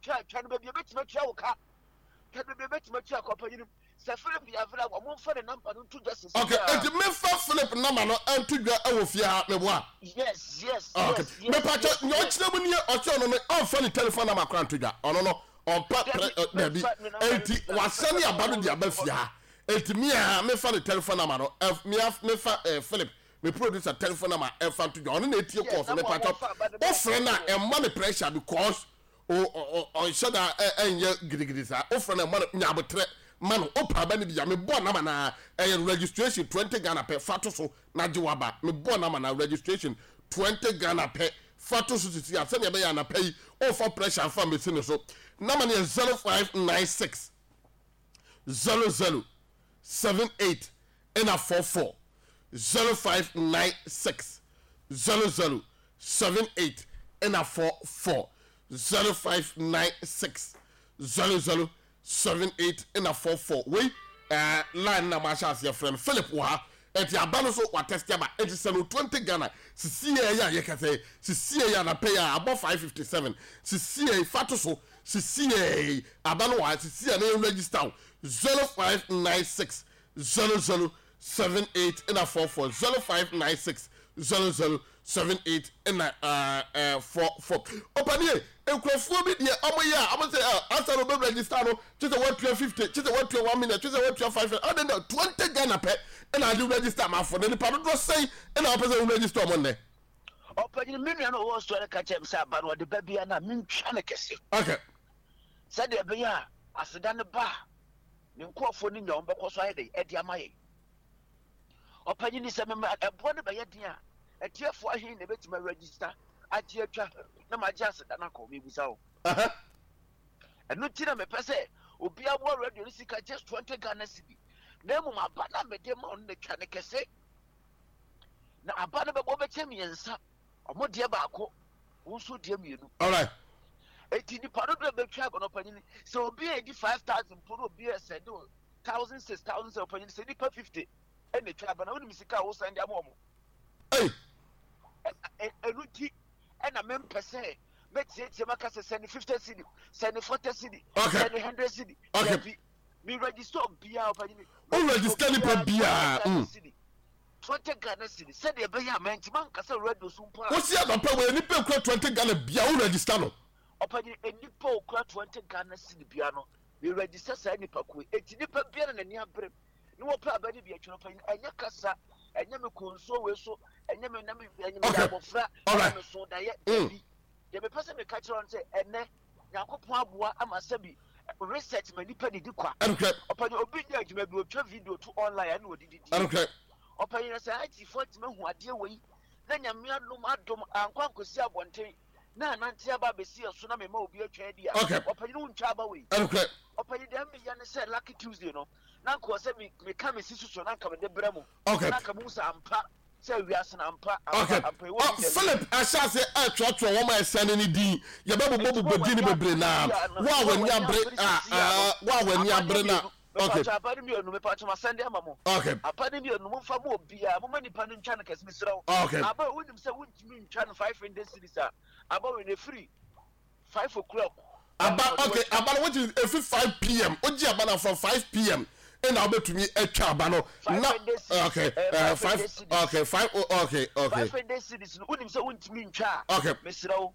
wotwa twa no baabi ebetumi atua wo ka. Twa no baabi ebetumi atua ka ɔpanyin. Sɛ Philip yɛ available a, wɔmfa ne number no nto dwa sisi Okay, a. enti mefa Philip number no nto dwa wɔ fie ha, meboa? Yes, Okay, yes, yes, mepakyɛ, yes, nea yes. ɔkyerɛ mu nie, ɔse ɔno no ɔmfa ne telephone number koraa nto dwa, ɔno no ɔmpɛ prɛ, Dabi, ɛ, dabi, memfa ne number no enti nto dwa, mepɛ wasɛne sɛ aba no ɔwɔ de aba radio fie hɔ. ha, enti me a mefa ne telephone number no, ɛ, me a mefa ɛ, Philip, me producer telephone number ɛmfa nto dwa, ɔno na etie Yes, calls na no, mo a mepakyɛ, wɔmfa aba no bɛyɛ wofrɛ no a fie hɔ. ɛmma no pressure because ɔnhyɛ da ɛnyɛ gidigidi saa wofrɛ no ɛma no nya abotrɛ ma no wopɛ aba no bi a mebɔɔ nama na ɛyɛ registration 20 Ghana pɛ fa to so na gye waba mebɔɔ nama na registration 20 Ghana pɛ fa to so sisi a sɛnea ɛbɛyɛ anapa yi ɔmfa pressure mfa mmɛsi ne so nama no yɛ 0596 00 78 ɛna 44 0596 00 78 ɛna 44 0596 00 78 ɛna 44 wei ɛɛ line na mahyɛ aseɛ frɛ no Philip wɔ ha ɛti aba no so watɛste aba ɛti sɛ no 20 Ghana sisi yɛ yɛ a yɛkasa yi sisi yɛ yɛ anapɛ yɛ a abɔ 557 sisi yɛ fa to so sisi yɛ aba no wɔ ha sisi yɛ na yɛ register wo 0596 00 78 ɛna 44 0596 00 78 ɛna ɛɛ 44 ɔpanie nkurɔfoɔ bi deɛ ɔmo yɛ a ɔmo sɛ ɛ asa na ɔbɛ register no kye sɛ watua 50 kye sɛ watua 1 million kye sɛ watua 5 ɔde na 20 Ghana pɛ ɛna ade register amanfoɔ na nipa dodoɔ sɛn ɛna ɔpɛ sɛ wo register ɔmo nnɛ. Ɔpanyin, me nua no a ɔwɔ Australia ka kyerɛɛ me sɛ aba no ɔde ba biara no a mentwa no kɛse. Okay. Sɛdeɛ ɛbɛyɛ a aseda no ba a, ne nkurɔfoɔ no nya wɔn bɛkɔ so ayɛ dɛn ɛde ama yɛn. Ɔpanyin, sɛ mema ɛboɔ no bɛyɛ den a, atiefoɔ ahe na ɛbɛtumi aregister agye atwa na magye aseda no akɔ? Mebisa wo. Ɛno nti na mepɛ sɛ obiara boa radio no sika just 20 Ghana cedi. Na mmom aba no a mede ma wo no na twa no kɛse. Na aba no bɛbɔ bɛkyɛ mmiɛnsa, ɔmo deɛ baako, wo nso deɛ mmienu. Alright. Eti nipa dodoɔ a bɛtwa aba no ɔpanyin, sɛ obi a edi 5,000 mpo na obi a sɛnde o 1,600, 1,700 ɔpanyin, sɛ nipa 50 ɛna etwa aba no, wonim sika a wosan de ama ɔmo. Ei. Ɛno nti ɛna mempɛ sɛ mɛtiatia maka sɛ sɛnde 50 cedi, sɛnde 40 cedi, Okay. sɛnde 100 cedi. Okay. Dabi. Me register obiara ɔpanyin. Me O register register nipa obiara biara. 20 Ghana cedi. Mm. 20 Ghana cedi. Sɛdeɛ ɛbɛyɛ a mantumi ankasa radio so mpo a. Wosi anɔpa wei nipa ekura 20 Ghana bia wo register no. Ɔpanyin, nipa okura 20 Ghana cedi bia no, me register saa nipa ko yi. Eti nipa biara na n'ani abere ne wɔpɛ aba ne bi atwene ɔpanyin. Ɛnyɛ kasa, ɛnyɛ me kɔ nsuo wei so, ɛnyɛ me na me ɛnyɛ me Okay. yɛ abɔfra, All ɛna right. me so daeɛ. Dabi. Deɛ mepɛ sɛ meka kyerɛ wɔn sɛ ɛnɛ Nyankopɔn aboa ama sɛbi research ma nipa didi kwa. Ɛnokorɛ. Ɔpanyin obi nyɛ adwuma bi otwa video to online ɛna ɔde didi. Ɛnokorɛ. Ɔpanyin na sɛ IT foɔ atumi ahu adeɛ wei na Nyame adom adom ankɔ ankɔsi abɔnten na anante aba abɛsi ɛso na mema obi atwa adi a. Okay. Ɔpanyin wontwa aba wei. Ɛnokorɛ. Ɔpanyin deɛ meyɛ ne sɛ Lucky Tuesday no na nka ɔsɛ me meka me sisi so na nka mede brɛ mo. Okay. Na nka mo hu sɛ ampa sɛ wiase no ampa Okay. ampa ampa ɛwɔ Oh, bi dabi. Philip ahyɛ ase ɛtwerɛtwerɛ wɔn a ɛsɛne ne din. Yɛbɛbobɔbobɔ Nti din no wo a w'ani bebree abere na sisi a no, wo a wo a w'ani w'ani abere abere a sisi a no, ah, wo a w'ani aba no abere na mmienu, okay. mepatwɔ aba no mmienu, mepatwɔ masɛnde ama mo. Okay. Aba no mmienu, momfa ma obiara, momma nipa no ntwa no kɛse, mesrɛ wo. Okay. Aba a wonim sɛ wontumi ntwa no 500 cedis a, aba wei no ɛfiri 5 o'clock Aba ɛna ɔde okay, watwa. aba no which is efi 5 pm. Ogye aba no from 5 pm ɛna wobɛtumi atwa aba no na 500 cedis, okay, eh, 5 500 cedis. okay, 5 okay, okay. 500 cedis no wonim sɛ wontumi ntwa a, Okay. mesrɛ wo.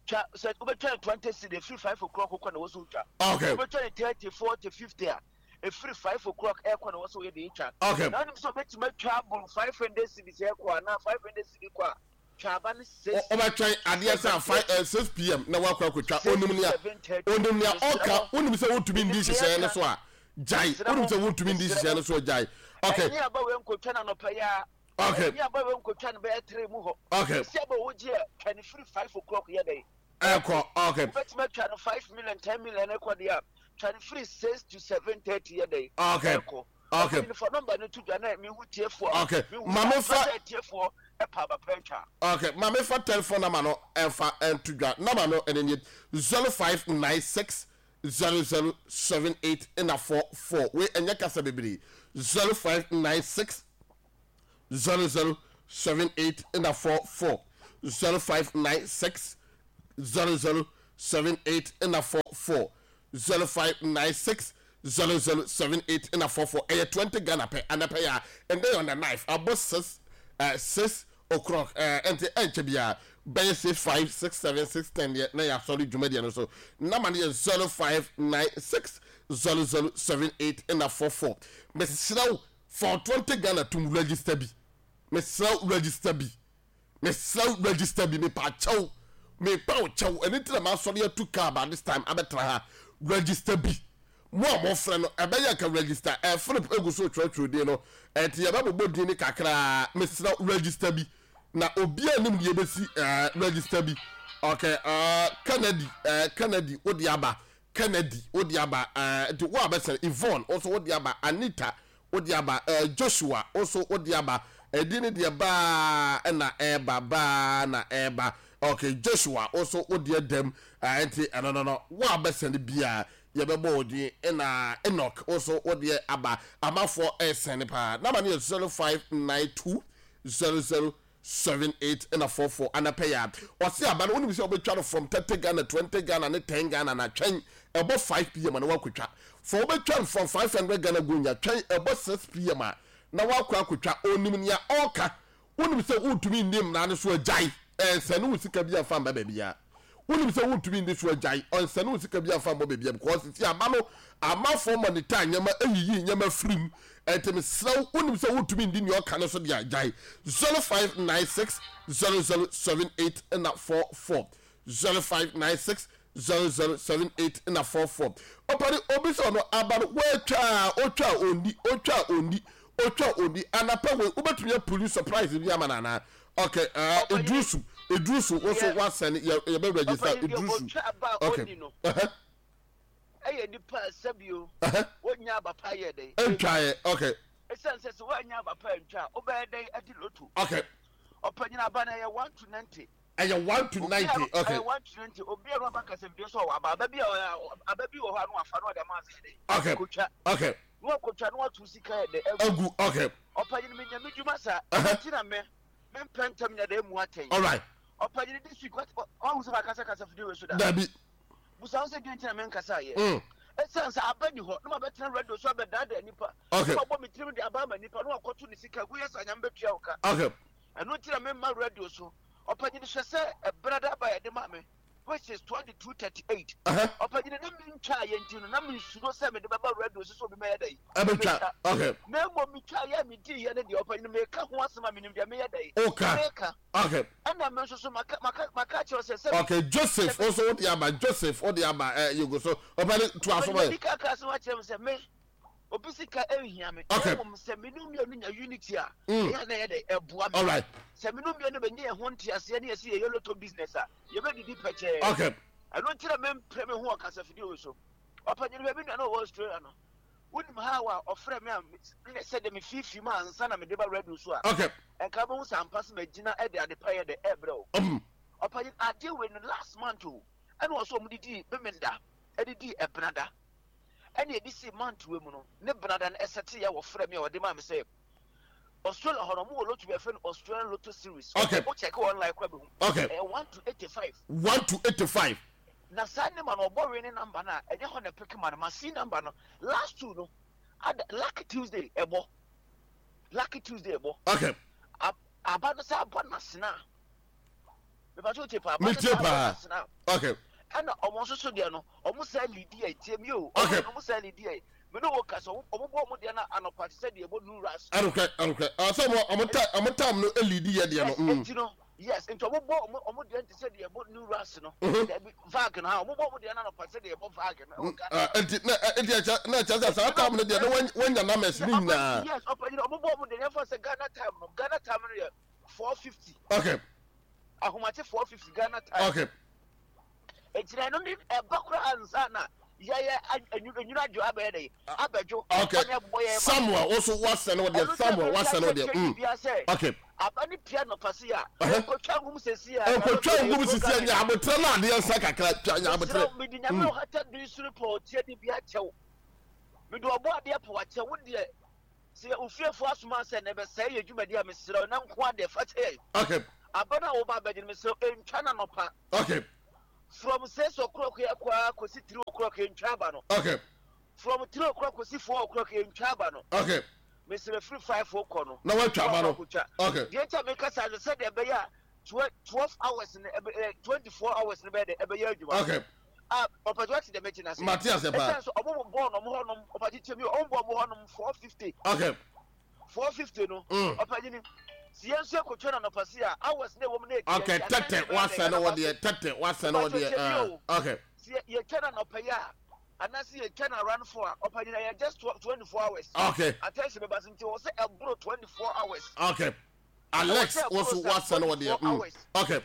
Twa sɛ wobɛtwa no 20 cedi ɛfiri 5 o'clock kɔ na wɔ so wotwa. Okay. Wobɛtwa no 30, 40, 50 a ɛfiri 5 o'clock ɛkɔ na wɔ so woyɛ de twa. Okay. Na wonim sɛ wobɛtumi atwa aboro 500 cedis ɛkɔ anaa 500 cedi kɔ a, twa aba no 6 Wobɛtwɛn adeɛ sɛ 7 5 30. 6 pm na woakɔ akɔtwa. 6 Onim to nea 7 30. onim nea Mesrɛ ɔka. mo, Wonim sɛ wontumi menim ndi nea nhyehyɛeɛ no ɛka. so a, gyae. Mesrɛ Wonim mo, sɛ wontumi ndi mesrɛ nhyehyɛeɛ mo. no so a, gyae. Okay. Ɛnyɛ aba wei nkɔtwa no anɔpa yi ara. Okay. Ɛnyɛ aba wei nkɔtwa no bɛyɛ 3 mu hɔ. Okay. Mesi aba wogye a, twa no firi 5 o'clock yɛ dɛn? Ɛkɔ. Okay. Wobɛtumi atwa no 5 million, 10 million ɛkɔ deɛ a, twa no firi 6 to 7:30 yɛ dɛn? Okay. Ɛkɔ. Okay. Ɔpanyin fa nɔmba no to dwa na mehu tiefoɔ a. Okay. Mehu Maame sɛ fa. ampa sɛ atiefoɔ ɛpa aba pa atwa. Okay. Maame fa telephone number no ɛfa ɛnto dwa. Number no ɛne nie 0596 0078 ɛna 44. Wei ɛnyɛ kasa bebree. 0596 0078 ɛna 44. 0596 00. 78 ɛna 44 0596 00 78 ɛna 44. Ɛyɛ 20 Ghana pɛ anapɛ yɛ a ɛndɛ yɛ on the knife abɔ 6 6 o'clock ɛnti ɛnkyɛ biara bɛyɛ 6 5 6 7 6 10 deɛ na yɛasɔre dwumadie no so. Nama no yɛ 0596 00 78 ɛna 44. Mesrɛ wo fa 20 Ghana tum register bi. Mesrɛ wo register bi. Mesrɛ wo register bi mepa kyɛw. Mepa wo kyɛw. Ɛno nti na masɔre atu car by this time abɛtena ha. Register bi. Mo a mofrɛ no ɛbɛyɛ nka register. Philip egu so twerɛtwerɛ din no. Ɛnti yɛbɛbobɔ din no kakraa. Mesrɛ wo register bi. Na obiara nim deɛ ɛbɛsi register bi. Okay, Kennedy, Kennedy wode aba. Kennedy wode aba. Nti wo a bɛsɛn Yvonne nso wode aba. Anita wode aba. Joshua nso wode aba. Ɛdi ne deɛ baa na ɛɛba baa na ɛɛba. Okay, Joshua nso wode adam. Nti ɛno no no wo a bɛsɛn biara yɛbɛbɔ wo din. Ɛna Enoch nso wode aba. Amafoɔ ɛsɛn paa. Nama no yɛ 0592 00 78 ɛna 44 anapɛ yɛ a ɔse aba no wonim sɛ wobɛtwa no from 30 Ghana 20 Ghana ne 10 Ghana na twɛn ɛbɔ 5 pm na woakɔtwa for wobɛtwa no from 500 Ghana gonya twɛn ɛbɔ 6 pm a na woakɔ akɔtwa. Onim nea ɔka. Wonim sɛ wontumi nni mmara no so agyae ɛnsɛne wo sika bi amfa mba baabiara. Wonim sɛ wontumi nni so agyae ɔnsɛne wo sika bi amfa mbɔ baabiara because sisi aba no amafoɔ monitor nneɛma ayiyi nneɛma firi mu. Ɛnti mesrɛ wo wonim sɛ wontumi nni nea ɔka no so deɛ agyae. 0596 0078 na 44 0596 0078 na 44. Ɔpɛne obi sɛ ɔno aba no woatwa otwa ondi otwa ondi otwa ondi anapa wei wobɛtumi apuli surprise bi ama no anaa? Okay, Idrusu Idrusu wo so wasɛne yɛbɛ register Idrusu. Okay. Ɛyɛ nipa sɛbio wonya aba pa yɛ dɛn ntwaeɛ. Okay. Ɛsiane sɛ sɛ woanya aba pa ntwa a wobɛyɛ dɛn adi loto. Okay. Ɔpanyin aba no ɛyɛ 1 to 90. Ɛyɛ 1 to 90. Okay. Ɛyɛ 1 to 90. Obi a no aba kasa bi so ɔwɔ aba aba bi a aba bi wɔ hɔ a no afa no ɔde ama ase dɛn. Okay. Kotwa. Okay. No akotwa no ato sika yɛ dɛn agu. Okay. Ɔpanyin me nya me dwuma saa. Ɛnti na me me mpɛ ntɛm nya dɛn mu atɛn. All right. Ɔpanyin this week wahu sɛ makasa kasa fidie wei so da. Dabi. Busa wo sɛ deɛ nti na menkasa yɛ. Ɛsiane sɛ aba ni hɔ na mabɛtena radio so abɛdaadaa nipa. Okay. Na mabɔ me tirim de aba ama nipa na wakɔto ne sika gu yɛ sɛ anyame bɛtua wo ka. Okay. Ɛno nti na memma radio so. Ɔpanyin hwɛ sɛ ɛberɛ da aba yɛde ma me which is 22:38. Ɔpanyin na mentwa yɛ nti no na mensuro sɛ mede bɛba radio so sɛ obi mɛyɛ dɛ. Ɛbɛtwa. Okay. Na mmom metwa yɛ a medii yɛ no deɛ ɔpanyin meka ho asɛm a menim deɛ meyɛ dɛ. Okay. Meka. Okay. Ɛna me nso so maka maka maka kyerɛ sɛ sɛ. Okay, Joseph also wode aba Joseph wode aba ɛ yogo so ɔpɛni to aso bɛyɛ. Ɔpɛni kaka asɛm akyerɛ me sɛ me obi sika ɛnhia me. Okay. Ɛmom sɛ me no mmienu nya unity a. Ɛyɛ na ɛyɛ dɛ ɛboa me. Alright. Sɛ me no mmienu bɛnya yɛn ho nteaseɛ ne yɛsi yɛyɛ lotto business a yɛbɛdidi pɛkyɛɛ. Okay. Ɛno nti na mempere me ho wɔ kasafidie wei so. Ɔpɛni no baabi nua na ɔwɔ Australia no. Wonim how a ɔfrɛ me a sɛ de me fiifii mu ansa na mede ba radio so a. Okay. Nka bɛhu sɛ ampa sɛ magyina de ade pa yɛ dɛ ɛbrɛ o. Ɔpanyin adeɛ wei no last month o ɛna ɔsɛ ɔmo de dii Memenda ɛde dii Ɛbenada ɛna ɛde sii month wei mu no ne Benada no ɛsɛte yɛ wɔfrɛ me a ɔde maa me sɛ Australia hɔ no ɔmo wɔ lotto bi ɛfrɛ no Australian Lotto Series. Okay. Wo check online kora bɛhu. Okay. Ɛyɛ 1 to 85. 1 to 85. Na saa name no ɔbɔ wei ne number no a ɛnyɛ hɔ na ɛpeke ma no ma see number no last two no ada lucky Tuesday ɛbɔ. Lucky Tuesday ɛbɔ. Okay. Aba no sɛ abɔ n'asena. Mepa so tie paa. Aba no sɛ abɔ n'asena. Okay. Ɛna ɔmo nso so deɛ no ɔmo sɛ lidi yɛ tie mi o. Okay. Ɔmo sɛ lidi yɛ. Me ne wo kasa ɔmo bɔ ɔmo deɛ no anɔpa te sɛ deɛ ɛbɔ new rush. Ɛnokorɛ ɛnokorɛ. Ɔsɛ ɔmo ɔmo ta ɔmo tam no lidi yɛ deɛ no. Yes eti no yes nti ɔmo bɔ ɔmo ɔmo deɛ te sɛ deɛ ɛbɔ new rush no. Dabi vag no ha ɔmo bɔ ɔmo deɛ no anɔpa te sɛ deɛ ɛbɔ vag no. Nti na nti ɛkyɛ na ɛkyɛ sɛ saa tam no deɛ na wɔnya numbers ne nyinaa. Yes ɔpanyin ɔmo bɔ ɔmo deɛ yɛn fa sɛ Ghana time no Ghana time no yɛ 4:50. Okay. Ahomakye 4:50 Ghana time. Okay. Egyina no ne ɛba koraa ansa na yɛyɛ enwunu adwo abɛyɛ dɛ abɛdwo. Okay. Samuel also wasɛn wɔ deɛ Samuel wasɛn wɔ deɛ. Okay. Aba ne pia nɔpa si a. Nkotwa ngum sisi a. Nkotwa ngum sisi a nya abotrɛ na adeɛ nsa kakra twa nya abotrɛ. Mede nyame ɔhata bi soro pɔ ɔtie de bi akyɛw. Mede ɔbɔ adeɛ pɔ akyɛw wo deɛ sɛ ofiefo asoma sɛ na ɛbɛsɛe yɛ dwumadi a mesrɛ na nko adeɛ fa kyɛ yɛn. Okay. Aba no a woba abɛgye no mesrɛ ntwa na nɔpa. Okay. From 6 o'clock yɛ kɔ ara kɔsi 3 o'clock yɛntwa aba no. Okay. From 3 o'clock kɔsi 4 o'clock yɛntwa aba no. Okay. Mesrɛ firi 5 kɔ no. Na watwa aba no. Okay. Deɛ nti a meka saa no sɛdeɛ ɛbɛyɛ a 12 hours no ɛbɛ 24 hours no bɛyɛ dɛ ɛbɛyɛ adwuma. Okay. Ah, ɔpɛtɛ wate deɛ mɛte n'ase. Mate ase paa. Ɛsan so ɔmo bɔ ɔmo hɔ nom ɔpɛtɛ tie mi ɔmo bɔ ɔmo hɔ nom 4:50. Okay. 4:50 no. Ɔpɛnyini si yɛn nso ekotwa na nɔpa si a hours na ɛwɔ mu na eti. Okay, tɛtɛ wasɛ no wɔ deɛ tɛtɛ wasɛ no wɔ deɛ. Okay. Si yɛtwa na nɔpa yi a anaasɛ yɛtwa na around 4 a ɔpɛnyini ɛyɛ just 24 hours. Okay. Attention bɛba so nti wɔ sɛ ɛboro 24 hours. Okay. Alex wɔso wasɛ no wɔ deɛ. Okay.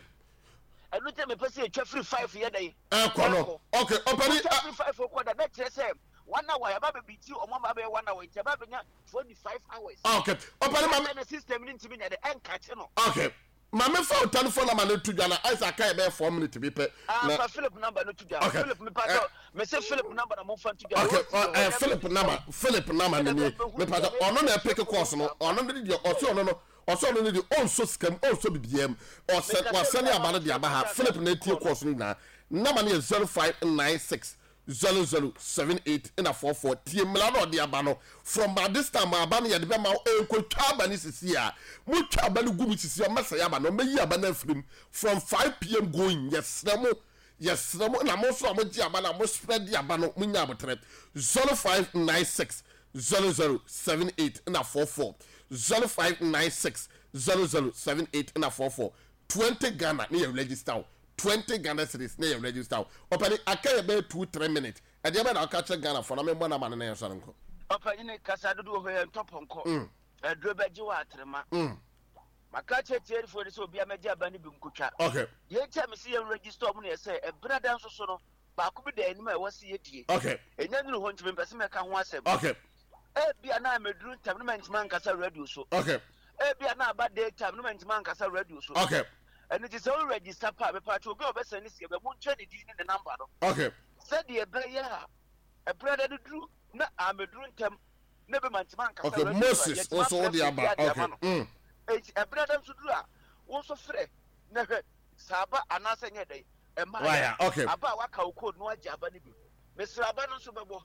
Ɛno nti na mepɛ sɛ yɛtwa firi 5 yɛ dɛn. Ɛkɔ no. Okay, ɔpɛni. Yɛtwa firi 5 kɔ da na kyerɛ sɛ 1 hour yɛba bɛbi ti ɔmo ama bɛyɛ 1 hour nti yɛba bɛnya 25 hours. Okay. Ɔpɛni maame. Na system ni ntumi nya de ɛnkakye no. Okay. Maame fa o telephone number no to dwa na ayisa aka yɛ bɛyɛ 4 minutes bi pɛ. Ah, fa Philip number no to dwa. Okay. Philip mi pa sɛ me se Philip number na mo fa to dwa. Okay. Philip number, Philip number ne nie. Me pa sɛ ɔno na ɛpeke course no. Ɔno ne deɛ ɔse ɔno no ɔsɛ ɔno ne deɛ ɔnsɔ sika mu ɔnsɔ bibiara mu. Ɔsɛ wasɛne aba no de aba ha. Philip na etie course no nyinaa. Number no yɛ 0596 00 78 na 44. Tie mmara na ɔde aba no. From by this time aba no yɛde bɛma wo. Nkotwa aba no sisi a. Motwa aba no gu mu sisi a ɔmmɛsɛe aba no. Ɔmmɛyi aba no afiri mu. From 5 pm going yɛsrɛ mo yɛsrɛ mo na mo nso a mogye aba no a mo spread aba no monya abotrɛ. 0596 00 78 na 44, 0596 00 78 na 44. 20 Ghana ne yɛ register wo. 20 Ghana cedis ne yɛ register wo. Ɔpɛni aka yɛ bɛyɛ 2 3 minutes. Ɛdeɛ bɛ na ɔka kyerɛ Ghana fo na memmɔ nama no na yɛnsɔre nkɔ. Ɔpɛni kasa dodoɔ hɔ yɛ ntɔpɔnkɔ. Ɛduro bɛgye wɔ atrema. Maka kyerɛ tiɛrifoɔ no sɛ obiara mɛgye aba no bi nkotwa. Deɛ nti a mesi yɛn register ɔmo no yɛ sɛ ɛberɛ da nso so no baako bi da anim a ɛwɔ sɛ yɛdie. Ɛnya nuru hɔ nti mempɛ sɛ mɛka ho asɛm. Ebia na mɛduru ntɛm no mɛntumi ankasa radio so. Ebia na aba day time no mɛntumi ankasa radio so. Ɛno nti sɛ wo register pa a mepatwa obi a ɔbɛsɛn ne sika bɛ montwa ne din ne ne number no. Sɛdeɛ ɛbɛyɛ a ɛberɛ da no duru na amɛduru ntɛm na ebi ma ntoma ankasa Okay, radio so a Moses yɛtumi nso afrɛ wode frɛ aba. obiara de ama Okay. no. Enti ɛberɛ da nso duru a wo nso frɛ na hwɛ sɛ aba anaasɛ nyɛ dɛn ɛma Waya, yɛ okay. aba a waka wo code na wagye aba no bi. Mesrɛ aba no nso bɛbɔ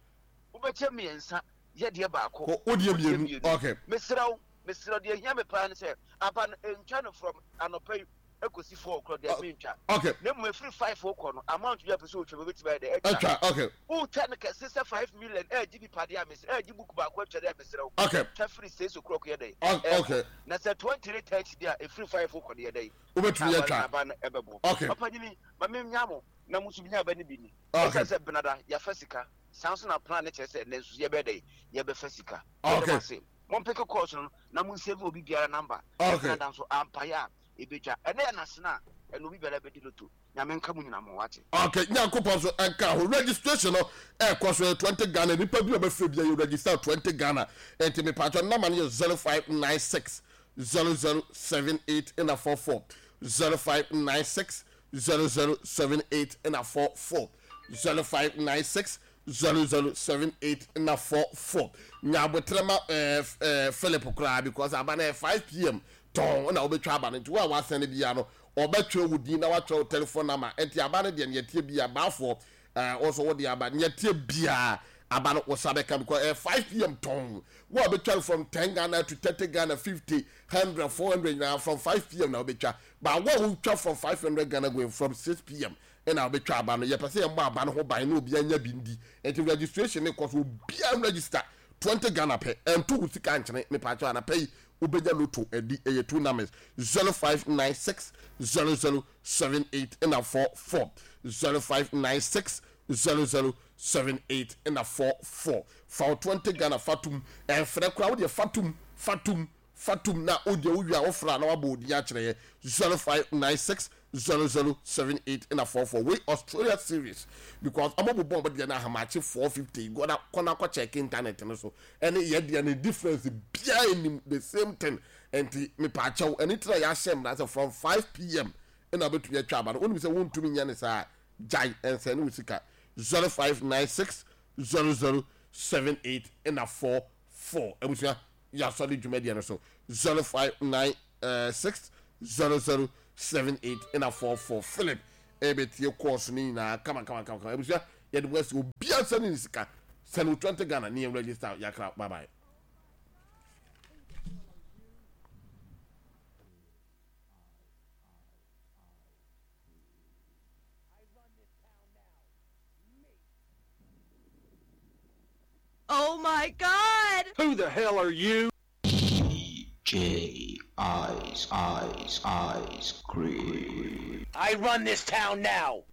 wobɛkyɛ mmiɛnsa yɛdeɛ baako Ko wodeɛ wodeɛ mmienu. mmienu. Okay. Mesrɛ wo mesrɛ wo deɛ hia me paa ne sɛ aba no ɛntwa no from anɔpa yi ɛkɔsi 4 o'clock deɛ mentwa. Na mmom ɛfiri 5 kɔ no amount bi a pɛ sɛ wotwa bɛbɛtumi ayɛ dɛ atwa. Atwa, okay. Wotwa no kɛse sɛ 5 million ɛgye nipa deɛ a mesrɛ ɛgye book baako atwa deɛ a mesrɛ wo. Twa firi 6 o'clock yɛ dɛ ɛkɔ. Na sɛ 20 ne 30 deɛ a ɛfiri 5 kɔ no yɛ dɛ Wobɛtumi aba atwa. aba no ɛbɛbɔ. Papa nyini ma menya mo na mo nso menya aba no bi ni. Ɛsiane sɛ benada yɛafa sika saa nso na plan no kyerɛ sɛ ɛnɛ nso yɛbɛyɛ dɛ yɛbɛfa sika. Yɛda mo ase. Mompeke course no na monsave obi biara number. Benada nso ampaeɛ a ɛbɛtwa. Ɛnɛ yɛ nasena a ɛno obi biara bɛdi loto. Nyame nka mo nyina mo wate. Okay, Nyankopɔn so ɛnka ho. Registration no ɛkɔ so yɛ 20 Ghana. Nipa bi a ɔbɛfrɛ bi a yɛ register 20 Ghana. Nti mepatwɔ nama no yɛ 0596 0078 ɛna 44, 0596 0078 ɛna 44, 0596 0078 ɛna 44. Nyabotrɛ ma ɛɛ ɛɛ Philip koraa because aba no yɛ 5 pm tɔn ɛna wobɛtwa aba no. Nti wo a wasɛn no bia no ɔbɛtwerɛ wo din na watwerɛ wo telephone number. Nti aba no deɛ neɛ tie bia baafoɔ ɛɛ wɔso wode aba neɛ tie bia aba no wosa bɛka because ɛyɛ 5 pm tɔn. Wo a bɛtwa no from 10 Ghana to 30 Ghana, 50, 100, 400 nyinaa from 5 pm na wobɛtwa. But wo a wotwa from 500 Ghana going, from 6 pm ɛna wobɛtwa aba no. Yɛpɛ sɛ yɛmmɔ aba no ho ban na obiara nya bi ndi. Nti registration ne kɔ so, obiara register 20 Ghana pɛ. Ɛnto wo sika nkyene mepaakyɛw anapa yi wobɛnya loto adi. Ɛyɛ two numbers, 0596 0078 ɛna 44, 0596 0078 ɛna 44. Fa wo 20 Ghana fatum ɛmfrɛ koraa wodeɛ fatum fatum fatum na wodeɛ wowie a wofrɛ a na wabɔ odin akyerɛ yɛ. 0596 0078 ɛna 44. Wei Australia series because ɔmo bobɔ ɔmo deɛ no ahamakye 4:50 gɔda kɔna kɔ check internet no so ɛne yɛ deɛ no difference biara anim, the same thing. Nti mepaakyɛw ɛne tira yɛahyɛ mmara sɛ from 5 pm ɛna wobɛtumi atwa aba no. Wonim sɛ wontumi nyɛ ne saa, gyae ɛnsɛn ne wo sika. 0596 0078 ɛna 44. Abusua, yɛasɔre dwumadie no so. 0596 0078 ɛna 44. Philip. ɛbɛtie course no nyinaa kama kama kama kama. Abusua yɛde mo asi obiara sɛne ne sika sɛne wo 20 Ghana ne yɛn register yakra bye bye. Oh my God! Who the hell are you? J Ice Ice Ice Cream. I run this town now.